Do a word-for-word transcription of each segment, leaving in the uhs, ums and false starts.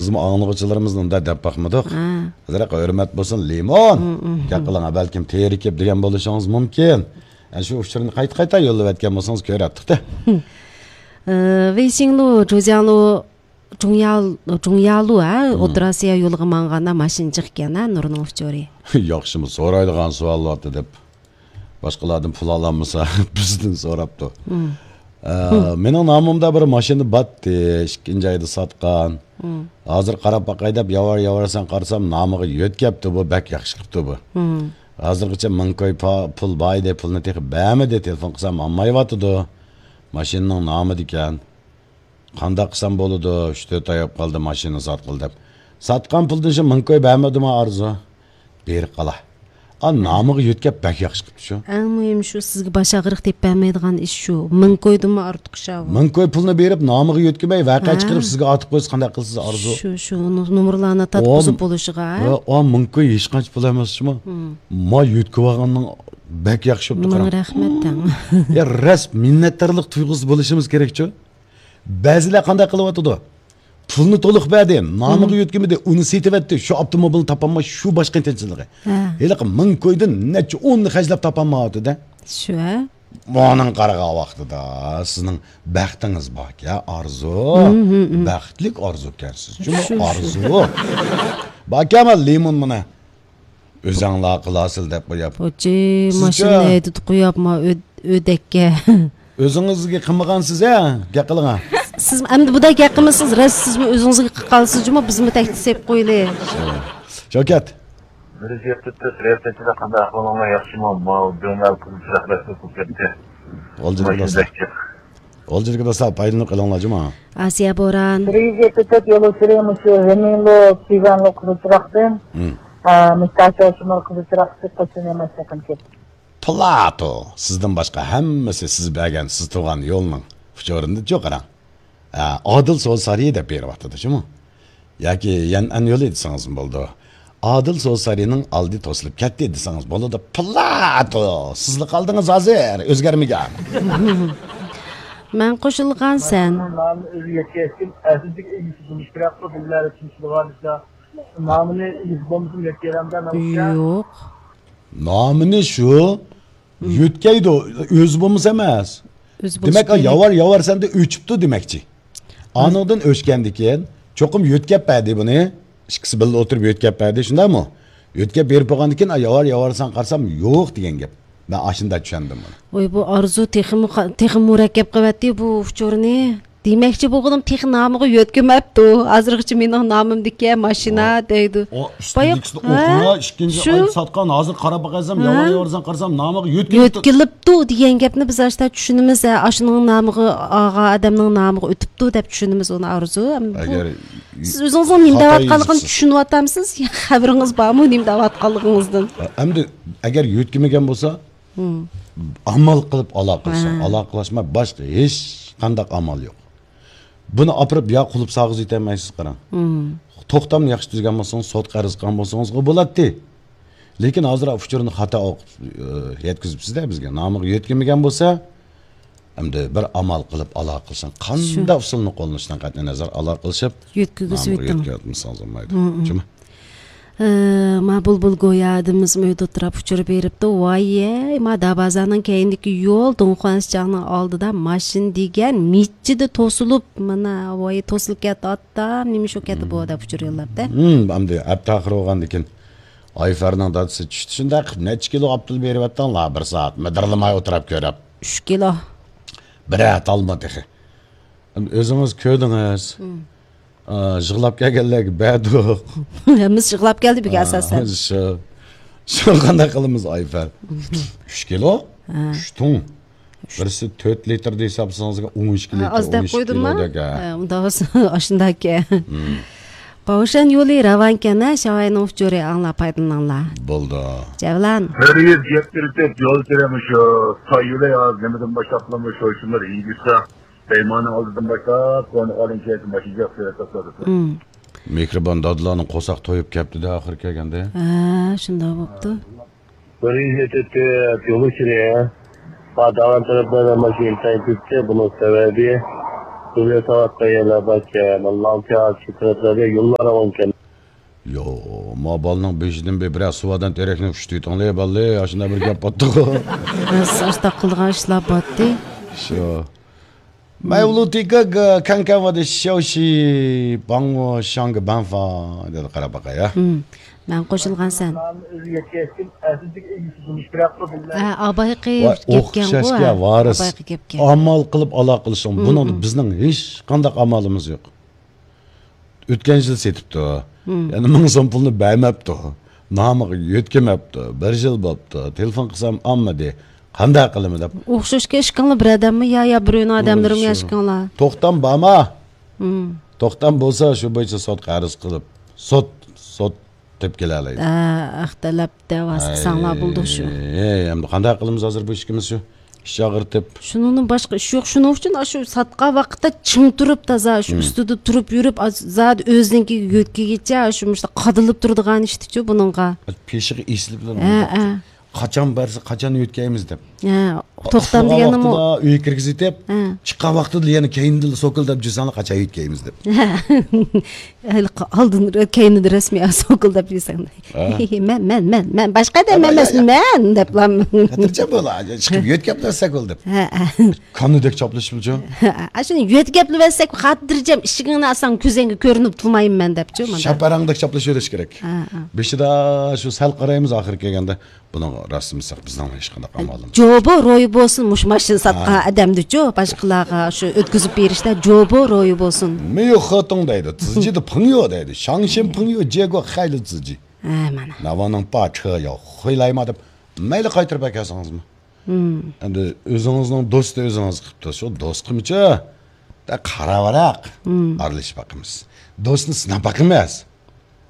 بىزمۇ ئاڭلىغۇچىلىرىمىزنى ئۇنداق دەپ باقمىدۇق. ھە. ئازراق ھۆرمەت بولسۇن، لىمون. ھىم، ھىم، گەپ ھىم. قىلىڭ، بەلكىم تېرىكىپ دېگەن بولۇشىڭىز مۇمكىن. ئەنە شۇ ئۇچۇرنى قايتا-قايتا يوللىۋەتكەن بولسىڭىز كۆرەتتۇق-تە. ئى، ۋېيشىڭلۇ، جۇجياڭلۇ، جۇڭيا-، جۇڭيالۇ، ھە؟ ھىم. ئوتتۇرا ئاسىيا يولىغا ماڭغاندا ماشىنا جىق ئىكەن، ھە؟ نۇرنىڭ ئۇچۇرى. ياخشىمۇ سورايدىغان سوئال بارتى دەپ. باشقىلاردىن پۇل ئالالمىسا، بىزدىن سوراپتۇ. مم. ئە، مم. مېنىڭ نامىمدا بىر ماشىنا باتتى، ئىككىنچى ئايدا ساتقان. مم. ھازىر قاراپ باقاي دەپ ياۋار-ياۋار سان قارىسام، نامىغا يۆتكەپتۇ بۇ، بەك ياخشى قىپتۇ بۇ. مم. ھازىرغىچە مىڭ كوي پا-، پۇل بار ئىدى، پۇلنى تېخى بەرمىدى، تېلېفون قىلسام ئالمايۋاتىدۇ. ماشىنىنىڭ نامىدىكەن. قانداق قىلسام بولىدۇ؟ ئۈچ تۆت ئاي بولۇپ قالدى ماشىنا ساتقىلى دەپ. ساتقان پۇلدىن شۇ مىڭ كوي بەرمىدىما ئارزۇ؟ بېرىپ قالا. ئا، نامىغا يۆتكەپ بەك ياخشى قىپتۇ شۇ. ئەڭ مۇھىمى شۇ، سىزگە باش ئاغرىق دەپ بەرمەيدىغان ئىش شۇ. مىڭ كويدىنمۇ ئارتۇق شۇ. مىڭ كوي پۇلنى بېرىپ، نامىغا يۆتكىمەي، ۋەقە ھە. چىقىرىپ سىزگە ئارتىپ قويسا قانداق قىلىسىز ئارزۇ؟ شۇ، شۇ نو-، نومۇرلارنى تارتقۇزۇپ بولۇشىغا. ۋە ئا، مىڭ كوي ھېچقانچە پۇل ئەمەس شۇمۇ. مم. ما يۆتكىۋالغاننىڭ بەك ياخشى بوپتۇ، مىڭ قاراڭ. رەھمەت دەڭ. يا، راست مىننەتدارلىق تۇيغۇسى بولۇشىمىز كېرەكچۇ؟ بەزىلەر قانداق قىلىۋاتىدۇ؟ پۇلنى تولۇق بەردى، نامىغا مم. يۆتكىمىدى، ئۇنى سېتىۋەتتى، شۇ ئاپتوموبىلنى تاپالماي، شۇ باش قىيىنچىلىقى. ھە. ھېلىقى مىڭ كويدىن نەچچە ئوننى خەجلەپ تاپالمايۋاتىدۇ. شۇ، ھە؟ مۇنىڭ قارىغان ۋاقتىدا سىزنىڭ بەختىڭىز باركەن، ئارزۇ. مم، مم، مم. بەختلىك ئارزۇكەنسىز. شۇ، شۇ، شۇ. ئارزۇ. باركەن لىمون مانا. ئۆزەڭلار قىلاسىل دەپ قوياپ. بۇچى سىزچە؟ ماشىنىنى ھەيدىتىپ قوياپما ئۆ-، ئۆدەككە. ئۆزىڭىزگە قىلمىغانسىز ھە؟ گەپ قىلىڭا. سىز ئەمدى بۇدا گەپ قىلمىسىز، راست سىزمۇ ئۆزىڭىزگە قىلىپ قالىسىز جۇمۇ، بىزمۇ تەكلىپ سېلىپ قويىلى. شۇ. شەۋكەت. بىر يۈز يەتمىش تۆت رەئىسەتچىلەر قانداق ئەھۋالىڭلار ياخشىمۇ؟ ماۋۇ دۆڭەل قىزىل چىراغ رەسمىي قىلىپ كەتتى. غالجىرىكىدا ماشىنا ساق. بەك جىق. غالجىرىكىدا ساق پايدىلىنىپ قېلىڭلار جۇما. ئاسىيە بوران. بىر يۈز يەتمىش تۆت يولۇچى مۇشۇ ھېمىنلۇ، كىگەنلۇ قىزىل چىراغدىن، مم. ئا، مىستاچو شىمال قىزىل چىراغ قىلىپ قوشۇن يەمەسلىكىم كېتىپ. پلاتو، سىزدىن باشقا ھەممىسى سىز بەرگەن، سىز تۇرغان يولنىڭ ئۇچۇرىنى چوقۇراڭ. ئە، ئادىل سودا سارىيى دەپ بېرىۋاتىدۇ، شۇمۇ؟ ياكى يەنئەن يولى دېسىڭىزمۇ بولىدۇ. ئادىل سودا سارىيىنىڭ ئالدى توسۇلۇپ كەتتى دېسىڭىز بولىدۇ. پلاتو! سىزلا قالدىڭىز ھازىر، ئۆزگەرمىگەن. مەن قوشۇلغان سەن. نامىنى ئۆزى يەتكەچكىن، ئەسلىدىكى ئىگىسى بولۇش كېرەكقۇ، بىللە چۈشىنىشىدىغان ئىشلار. نامىنى ئىگىسى بولمىسىمۇ يەتكەيلەمدە، نېمىشقا؟ يوق. نامىنى شۇ، مم. يۆتكەيدۇ، ئۆزى بولمىسا ئەمەس. ئۆزى بولسا دېمەك، ئا، دېمەك. ياۋار، ياۋار سەندە ئۆچۈپتۇ دېمەكچى. ھە. ئانىڭدىن ئۆچكەندىكىن، چوقۇم يۆتكەپ بەردى بۇنى. ئىككىسى بىللە ئولتۇرۇپ يۆتكەپ بەردى، شۇنداقمۇ؟ يۆتكەپ بېرىپ بولغاندىكىن، ئا، ياۋار، ياۋار سەن قارىسام، يوق دېگەن گەپ. مەن ئاشۇنداق چۈشەندىم بۇنى. ۋاي، بۇ ئارزۇ تېخىمۇ قا-، تېخىمۇ مۇرەككەپ قىلىۋەتتى بۇ ئۇچۇرنى. دېمەكچى بولغىنىم تېخى نامىغا يۆتكىمەپتۇ. ھازىرغىچە مېنىڭ نامىمدىكى ماشىنا ئۇ، دەيدۇ. ئۇ باياق، ئۈستىدىكىسىنى ھە؟ ئوقۇڭا، ئىككىنچى شۇ. ئاي ساتقان، ھازىر قاراپ باقايسام، ھە؟ ياۋار ياۋار سەن قارىسام، نامىغا يۆتكىلىپتۇ. يۆتكىلىپتۇ دېگەن گەپنى بىز ئاشتا چۈشىنىمىز، ھە، ئاشۇنىڭ نامىغا، ئالغان ئادەمنىڭ نامىغا ئۆتۈپتۇ دەپ چۈشىنىمىز ئۇنى، ئارزۇ. ئەمما بۇ، ئەگەر سىز ئۆزىڭىزنىڭ نېمە خاتا دەۋاتقانلىقىنى يېزىپسىز. چۈشىنىۋاتامسىز؟ يا خەۋىرىڭىز بارمۇ، نېمە دەۋاتقانلىقىڭىزدىن؟ ئەمدى ئەگەر يۆتكىمىگەن بولسا، مم. ئامال قىلىپ ئالاقىلىشىڭ. ھە. ئالاقىلاشما باشقا ھېچ قانداق ئامال يوق. بۇنى ئاپىرىپ يا قۇلۇپ ساغىز يېتەلمەيسىز، قاراڭ. مم. توختامنى ياخشى تۈزگەن بولسىڭىز، سوتقا ئەرز قىلغان بولسىڭىزغا بولاتتى. لېكىن ھازىر ئۇچۇرنى خاتا ئوقۇپ، ئى، يەتكۈزۈپسىز-دە بىزگە. نامىغا يۆتكىمىگەن بولسا، ئەمدى بىر ئامال قىلىپ ئالاقىلىشىڭ. شۇ. قانداق ئۇسۇلنى قوللىنىشتىن قەتئىي نەزەر، ئالاقىلىشىپ، يۆتكىگۈزۈۋېتىڭ. نامىغا يۆتكەۋەتمىسىڭىز بولمايدۇ. مم، مم. جۇمۇ. ئى، ما بۇلبۇل گويا ھەدىمىز مۆيدە ئولتۇراپ ئۇچۇر بېرىپتۇ. ۋايەي، ما دابازانىڭ كەينىدىكى يول، دۇڭخۇەنسىچاڭنىڭ ئالدىدا ماشىنا دېگەن مىچچىدە توسۇلۇپ، مانا، ۋاي، توسۇلۇپ كەتتى، ئاتام، نېمە شۇ كەتتى بۇ دەپ ئۇچۇر يوللاپتۇ. ھىم، ئەمدى ئەپتاخىر بولغاندىكىن ئايفەرنىڭ دادىسى چۈشتى، شۇنداق قىلىپ نەچچە كىلو ئاپتىل بېرىۋەتتىڭلار، بىر سائەت مىدىرلىماي ئولتۇراپ كۆرۈپ. ئۈچ كىلو. بىرەر تالما تېخى. ئۆزىڭىز كۆردىڭىز. ھىم. ئا، يىغلاپ كەلگەنلەرگە بەردۇق. ھەممىسى يىغلاپ كەلدى بىگە ئاساسەن. شۇ، شۇ قانداق قىلىمىز، ئايفەر؟ ئۈچ كىلو؟ ھە. ئۈچ تۇڭ. بىرسى تۆت لىتىر دېسە، ھېسابلىسىڭىزغا ئون ئىككى لىتىر، ھە، ئاز دەپ قويدۇمما؟ ئون ئىككى كىلودەك، ھە. ھە، ئۇنداق بولسا ئاشۇنداكەن. ھىم. باۋشەن يولى راۋانكەن، ھە، شاۋاينىڭ ئۇچۇرى ئاڭلاپ پايدىلىنىڭلار. بولدى. جەۋلان. بىر يۈز يەتمىش تۆت يول كىرىمى شۇ، تاي يولى ھازىر نېمىدىن باشلاپ قىلىمىز، شۇ شۇنداق يېگۈزسە. پەيماننىڭ ئالدىدىن باشلاپ، كونا ئالىن كېيىن ماشىنا جىق سۈرەتتە تۇرىدۇ. مم. مېھرىبان دادىلارنىڭ قورساق تويۇپ كەپتۇ-دە، ئاخىرى كەلگەندە. ھە، شۇنداق بوپتۇ. بىر يۈز يەتتە يول ئىچىدە، ھە. داۋان تەرەپلەردە ماشىنا ئىنتايىن كۆپتى، بۇنىڭ سەۋەبى، Böyle tarafta yerler varken, Allah'ın teala şu taraflarda yollar varken. يو، ما بالىنىڭ بېشىدىن بىر، بىرەر سۇۋادان تېرەكنى ئۇشتۇيتۇڭلى، بالىلى، ئاشۇنداق بىر گەپ باتتىغۇ. بىز ئاشتاق قىلىدىغان ئىشلار باتتى. شۇ. 买无路的哥哥，看看我的消息，帮我上个班房。 دەپ قاراپ باقاي، ھە. ھىم. مەن قوشۇلغان سەن. ھە، ئابايقى ۋاي، گەپكەنغۇ، ئوخشاشكەن، ھە. ۋارىس. ئابايقى گەپكەن. ئامال قىلىپ ئالاقىلىشىڭ. بۇنىڭدا بىزنىڭ ھېچقانداق ئامالىمىز يوق. ئۆتكەن يىل سېتىپتۇ. يەنە مىڭ سوم پۇلنى بەرمەپتۇ. نامىغا يۆتكىمەپتۇ. بىر يىل بوپتۇ. تېلېفون قىلسام ئالمىدى. قانداق قىلىمەن دەپ. ئوخشاشكەن ئىشقىڭلار بىر ئادەممۇ يا، يا بىر ئۆينىڭ ئادەملىرىمۇ يا ئىشقىڭلار؟ توختام بارما؟ توختام بولسا شۇ بويىچە سوتقا ئەرز قىلىپ، سوت، سوت دەپ كېلەلەيدۇ. ئەختەلەپ دەۋاسى قىلساڭلار بولدى شۇ. ئەي، ئەمدى قانداق قىلىمىز ھازىر بۇ ئىككىمىز شۇ؟ ئىش ئاغرىتىپ. شۇنىڭدىن باشقا ئىش يوق. شۇنىڭ ئۈچۈن ئاشۇ ساتقان ۋاقىتتا چىڭ تۇرۇپ تازا شۇ ئۈستىدە تۇرۇپ يۈرۈپ، ئاز-، زادى ئۆزىنىڭكىگە يۆتكىگىچە شۇ مۇشۇنداق قادىلىپ تۇرىدىغان ئىشتىچۇ بۇنىڭغا. پېشىغا ئېسىلىپ ھە، ھە. قاچان بەرسە، قاچان يۆتكەيمىز دەپ. ھە، توختام دېگەننىمۇ. ئۆيگە كىرگۈزۈۋېتىپ، ھە. چىققان ۋاقتىدا يەنە كەينىدىن سوكۇلداپ جۈرسەڭلار، قاچان يۆتكەيمىز دەپ. ھېلىقى ئالدىن، كەينىدىن رەسمىي سوكۇلداپ يۈرسەڭلار. ھە. مەن، مەن، مەن، مەن، باشقا ئادەم ئەمەس، مەن دەپلا. خاتىرجەم بول، چىقىپ يۆتكەپ بەرسەك بولدى دەپ. ھە، ھە. كانىدەك چاپلىشىپچۇ؟ ھە، ھە. ئاشۇنى يۆتكەپ بەرسەك خاتىرجەم ئىشىكىڭنى ئاچساڭ كۆزۈڭگە كۆرۈنۈپ تۇرمايمەن دەپچۇ. شەپەرەڭدەك چاپلىشىۋېلىش كېرەك. ھە، ھە. بېشىدا شۇ سەل قارايمىز ئاخىرى كەلگەندە. بۇنىڭغا راستىمىز ساق، بىزنىڭ ھېچقانداق ئامالىمىز. جوبو رويى بولسۇن، مۇشۇ ماشىنا ساتقان ئادەمدىچۇ، باشقىلارغا شۇ ئۆتكۈزۈپ بېرىشتە جوبو رويى بولسۇن. 没有合同 دەيدۇ، 自己的朋友 دەيدۇ، 相信朋友结果害了自己. ھە، مانا. 那我能把车要回来吗 دەپ، مەيلى قايتۇرۇپ ئەكەلسىڭىزمۇ. ئەمدى ئۆزىڭىزنىڭ دوستى ئۆزىڭىز قىپتۇ، شۇ دوستقىمۇچۇ، دە قاراۋاراق ئارىلىشىپ باقىمىز. دوستنى سىناپ باقىمىز.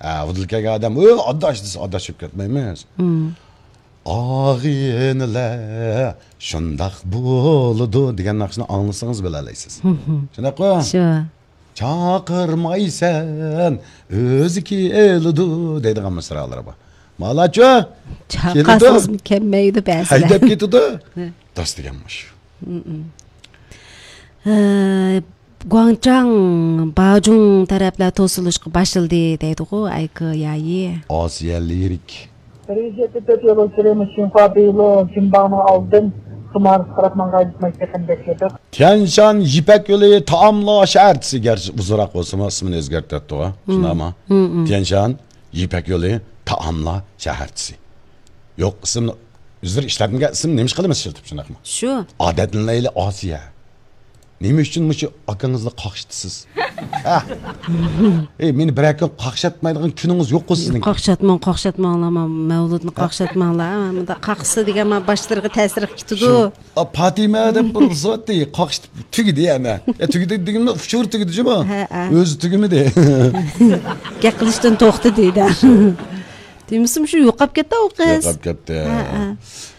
ھە، ئۇدۇل كەلگەن ئادەم، ئۇ ئاداش دېسە، ئاداش چۈشۈپ كەتمەيمىز. ئاغىنىلەر شۇنداق بولىدۇ دېگەن ناخشىنى ئاڭلىسىڭىز بىلەلەيسىز. شۇنداققۇ؟ شۇ. چاقىرمايسەن، ئۆزى كېلىدۇ دەيدىغان مىسرالىرى بار. مالاچۇ؟ چاقىرسىڭىزمۇ كەلمەيدۇ بەزىلەر. ھەيدەپ كېتىدۇ. داس دېگەن مۇشۇ. ھە، گۇاڭچاڭ، باجۇڭ تەرەپلەر توسۇلۇشقا باشلىدى دەيدىغۇ، ئەيكى يايى. ئاسىيە لىرىك. 北京线的特铁路指令新华北路金邦路 ئالدىن خىمارىسقا قاراپ ماڭغان يۈك ماشىنىسىنى بەكلىدۇق. تيەنشان يىپەك يولى تائاملار شەھەرچىسى، گەرچە ئۇزۇنراق بولسىمۇ، ئىسمىنى ئۆزگەرتىۋەتتىغۇ. شۇنداقمۇ؟ تيەنشان يىپەك يولى تائاملار شەھەرچىسى. يوق، ئىسىمنى ئۆزلىرى ئىشلەتمىگەن ئىسىمنى نېمىش قىلىمىز ئىشلىتىپ شۇنداقمۇ؟ شۇ. ئادەتلىنەيلى ئاسىيە. نېمە ئۈچۈن مۇشۇ ئاكىڭىزنى قاقشىتىسىز؟ ھە؟ ئەي، مېنى بىرەر كۈن قاقشاتمايدىغان كۈنىڭىز يوققۇ سىزنىڭ؟ قاقشاتماڭ، قاقشاتماڭلار، ما-، مەۋلۇتنى قاقشاتماڭلار. ھە، مۇنداق قاقشىتسا دېگەن ما باشلىرىغا تەسىرىگە كېتىدۇ. شۇ. ئا، پاتىمە دەپ بىر زاتى قاقشىتىپ تۈگىدى يەنە. يا، تۈگىدى دېگىنىمدە ئۇچۇر تۈگىدى جۇمۇ. ھە، ھە. ئۆزى تۈگىمىدى. گەپ قىلىشتىن توختىدى دە. دېمىسىمۇ شۇ يوقاپ كەتتى ئۇ قىز. يوقاپ كەتتى. ھە، ھە.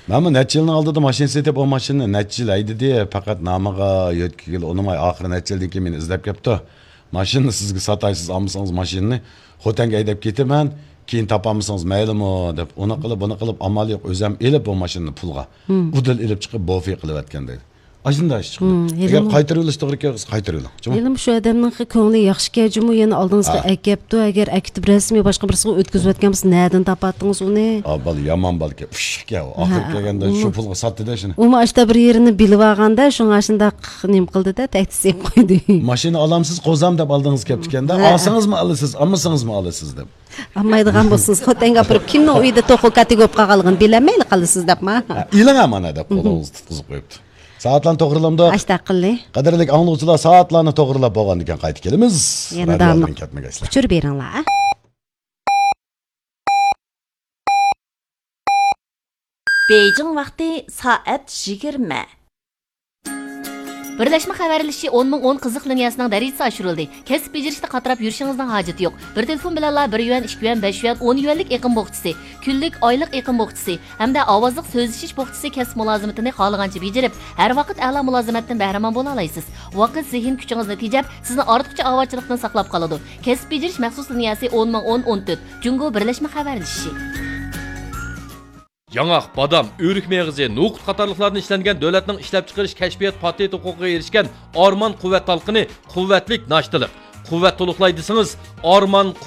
مەنمۇ نەچچە يىلنىڭ ئالدىدا ماشىنا سېتىپ، ئۇ ماشىنىنى نەچچە يىل ھەيدىدى، پەقەت نامىغا يۆتكىگىلى ئۇنىماي، ئاخىرى نەچچە يىلدىن كېيىن مېنى ئىزدەپ كەپتۇ. ماشىنىنى سىزگە ساتاي، سىز ئالمىسىڭىز ماشىنىنى خوتەنگە ھەيدەپ كېتىمەن، كېيىن تاپالمىسىڭىز مەيلىمۇ دەپ، ئۇنى قىلىپ، بۇنى قىلىپ، ئامال يوق، ئۆزۈم ئېلىپ بۇ ماشىنىنى پۇلغا. ئۇدۇل ئېلىپ چىقىپ، بوفې قىلىۋەتكەن دەيدۇ. ئاشۇنداق ئىش چىقىدۇ. ئەگەر قايتۇرۇۋېلىش توغرا كەلسە، قايتۇرۇۋېلىڭ. جۇمۇ. ھېلىمۇ شۇ ئادەمنىڭ كۆڭلى ياخشىكەن جۇمۇ، يەنە ئالدىڭىزغا ئەكەپتۇ. ئەگەر ئەكېتىپ رەسمىي باشقا بىرسىگە ئۆتكۈزۈۋەتكەن بولسا، نەدىن تاپاتتىڭىز ئۇنى؟ ئا، بالا يامان بالىكەن، ئۇششۇقكەن ئۇ. ئاخىرى كەلگەندە شۇ پۇلغا ساتتى-دە شۇنى. ئۇمۇ ئاشتا بىر يېرىنى بىلىۋالغاندا، شۇڭا ئاشۇنداق نېمە قىلدى-دە، تەھدىت سېلىپ قويدى. ماشىنا ئالامسىز، قوزام دەپ ئالدىڭىز كەپتىكەن-دە. ئالسىڭىزمۇ ئالىسىز، ئالمىسىڭىزمۇ ئالىسىز دەپ. ئالمايدىغان بولسىڭىز، خوتەنگە ئاپىرىپ، كىمنىڭ ئۆيىدە توخۇ كاتى بولۇپ قالغانلىقىنى بىلەلمەيلا قالىسىز دەپما. ھە، ئېلىڭ مانا دەپ قولىڭىزنى تۇتقۇزۇپ قويۇپتۇ. سائەتلەرنى توغرىلامدۇ؟ ئاشتاق قىلدى. قەدىرلىك ئاڭلىغۇچىلار، سائەتلەرنى توغرىلىپ بولغاندىكىن قايتا كېلىمىز. يەنە رادىيودىن داۋاملىق كەتمىگەيسىلەر. ئۇچۇر بېرىڭلار. بېيجىڭ ۋاقتى سائەت يىگىرمە. بىرلەشمە خەۋەرلىشىشى ئون مىڭ ئون قىزىق لىنىيەسىنىڭ دەرىجىسى ئاشۇرۇلدى. كەسىپ بېجىرىشتە قاتراپ يۈرۈشىڭىزنىڭ ھاجىتى يوق. بىر تېلېفون بىلەنلا بىر يۈەن، ئىككى يۈەن، بەش يۈەن، ئون يۈەنلىك ئېقىم بوخچىسى، كۈنلۈك، ئايلىق ئېقىم بوخچىسى ھەمدە ئاۋازلىق سۆزلىشىش بوخچىسى كەسىپ مۇلازىمىتىنى خالىغانچە بېجىرىپ، ھەر ۋاقىت ئەلا مۇلازىمەتتىن بەھرىمەن بولالايسىز. ۋاقىت، زېھىن كۈچىڭىزنى تېجەپ، سىزنى ئارتۇقچە ئاۋارىچىلىقتىن ساقلاپ قالىدۇ. كەسىپ بېجىرىش مەخسۇس لىنىيەسى ئون مىڭ ئون، ئون تۆت، جۇڭگو بىرلەشمە خەۋەرلىشىشى. ياڭاق، بادام، ئۆرۈك مېغىزى، نوقۇت قاتارلىقلاردىن ئىشلەنگەن دۆلەتنىڭ ئىشلەپچىقىرىش كەشپىيات پاتېنت ھوقۇقىغا ئېرىشكەن ئارمان قۇۋۋەت تالقىنى قۇۋۋەتلىك ناشتىلىق. قۇۋۋەت تولۇقلاي دېسىڭىز، ئارمان